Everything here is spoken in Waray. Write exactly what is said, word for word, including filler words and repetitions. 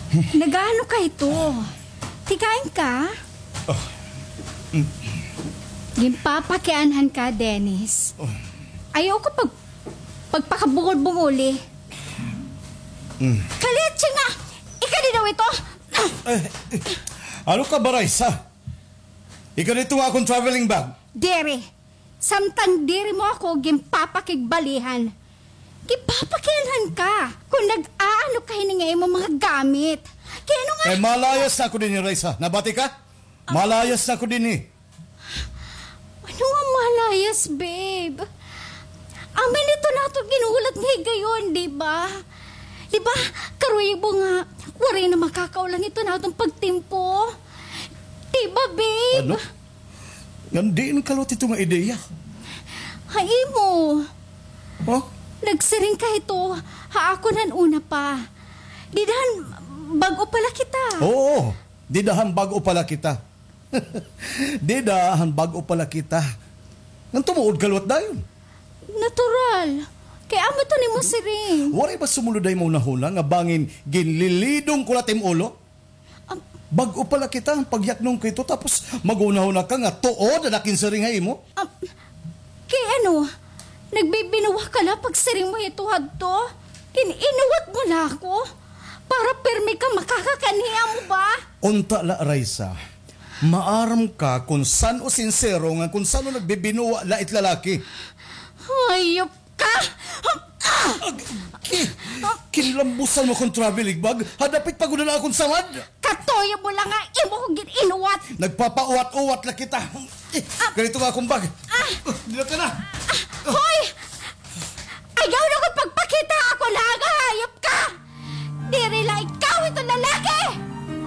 Nagaano ka ito? Tikain ka? Ginpapakianhan ka, Dennis. Ayaw ko pag, pagpakabungol-bungoli. Kaliat siya nga! Ika di daw ito! Eh, ano ka ba, Raisa? Ika dito nga akong traveling bag. Diri. Samtang diri mo ako ginpapakigbalihan. Ginpapakianhan ka kon nag-aano ka hini nga imo mga gamit. Kay ano nga? Eh, malayas na ako dinhi, Raisa. Nabati ka? Malayas na ako dinhi. Ano nga malayas, babe? Amin ito nato ginulat nga higayon, di ba? Di ba? Karuyag mo nga, waray na makakaulang ito natong pagtimpo. Di ba, babe? Ano? Ngan diin kaliwat ito nga ideya? Ha imo. Huh? Nagsiring ka ito, ha akon han una pa. Dida han bag-o pa la kita. Oo, dida han bag-o pa la kita. Dida han bag-o pa la kita. Ngan tumuod kaliwat dayon. Natural. Kay amo ito an imo siring. Waray ba sumulod ha imo hunahuna nga bangin ginlilidong ko la it im ulo? Bag-o pa la kita, pagyaknon ko ito, tapos maghunahuna ka nga tuod an akon siring ha imo? Ah, kay ano, nagbibinuwa ka la pagsiring mo hito hadto? Gin-inuwat mo la ako para pirmi ka makakakanhi, amo ba? Unta la, Raisa. Maaram ka kon san-o sinsero ngan kon san-o nagbibinuwa la it lalaki. Hayop ka! Ag-, ki-, kinlambusan mo akon traveling bag, ha dapit pa gud han akon samad. Katuyo mo la nga imo ko gin-inuwat. Nagpapauwat-uwat la kita. Eh, ganito nga akon bag. Ah! Dida ka na. Ah, hoy! Ayaw na ko pagpakita!